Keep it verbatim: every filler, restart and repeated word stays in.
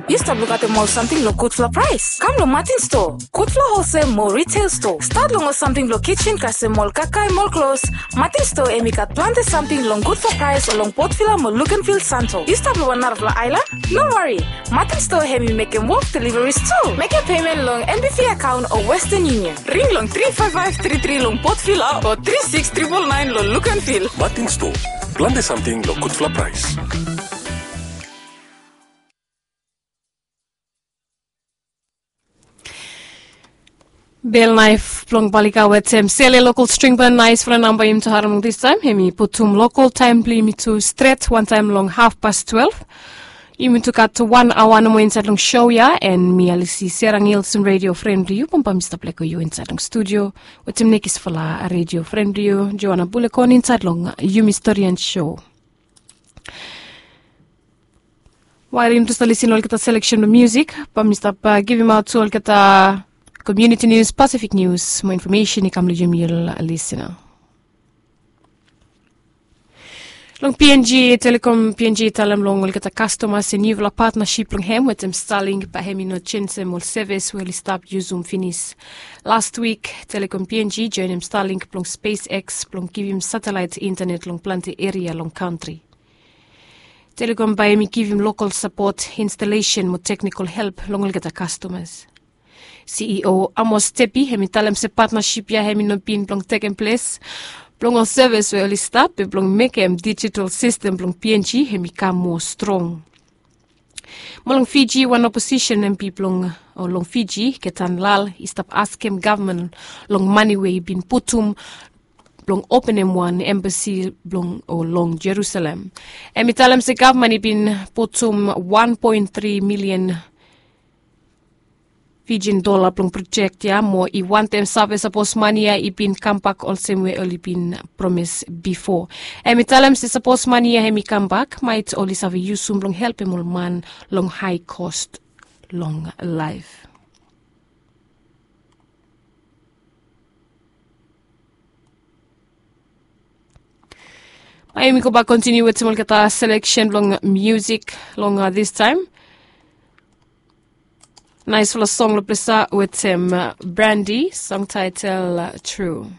Yu stap lukaotem ol samting long gudfala praes? Kam long Martin Store, gudfala holsel mo retail store. Stat long ol samting blong kitchen kasem ol kakae mo ol klos. Martin Store hem i gat plante samting long gudfala praes long Port Vila mo Luganville, Santo. Yu stap long wan narafala aelan? No wari. Martin Store hem i mekem wok deliveries tu. Mekem payment long N B V account o Western Union. Ring long three five five three three long Port Vila o three six triple nine long Luganville. Martin Store, plante samting long gudfala praes. Bel naef blong Balika wetem Sele Lokol String Band, naesfala namba yumi tu harem long distaem. Hem i putum lokol taem blong yumi tu stret wantaem long hafpas twelef. Yumi tu gat wan aoa nomo insaed long sou ya, and mi Alisi Serangil, redio fren blong yu, bambae mi stap lego yu insaed long studio wetem nekisfala redio fren blong yu, Joana Bulekon, insaed long Yumi Storian Sou. Wael yumi tu stap lisin long olgeta seleksen blong musik, bae mi stap givimaot tu olgeta komuniti nius, Pasifik nius mo infomesen i kam long yumi ol lisina. Long PNG, Telecom PNG i talem long olgeta kastomas se niufala patnasip blong hem wetem Starlink bae hem i no jenjem ol sevis we oli stap yusum finis. Las wik, Telecom PNG joenem Starlink blong SpaceX blong givim satelaet intanet long plante eria long kantri. Telecom bae hem i givim lokol sapot, instalesen mo teknikol help long olgeta kastomas. CEO Amos Tepi hem i talem se patnasip ya hem i no bin blong tekem ples blong ol sevis we oli stap, be blong mekem dijital sistem blong PNG hem i kam moa strong. Mo long Fiji, wan oposisen MP blong, o long Fiji, Ketan Lal, i stap askem gavman long mane we i bin putum blong openem wan embasi blong, o long Jerusalem. Hem i talem se gavman i bin putum wan poen tri milian Fijian dola blong projek ya, mo i wantem save sapos mane ya i bin kambak olsem we oli bin promes bifo. Hem i talem se sapos mane ya hem i kambak, maet oli save yusum blong helpem ol man long hae kos long laef. Bae yumi gobak kontiniu wetem olgeta seleksen blong musik long, a, distaem. Naesfala song long ples ya wetem, a, Brandy, song taetel, a, Tru.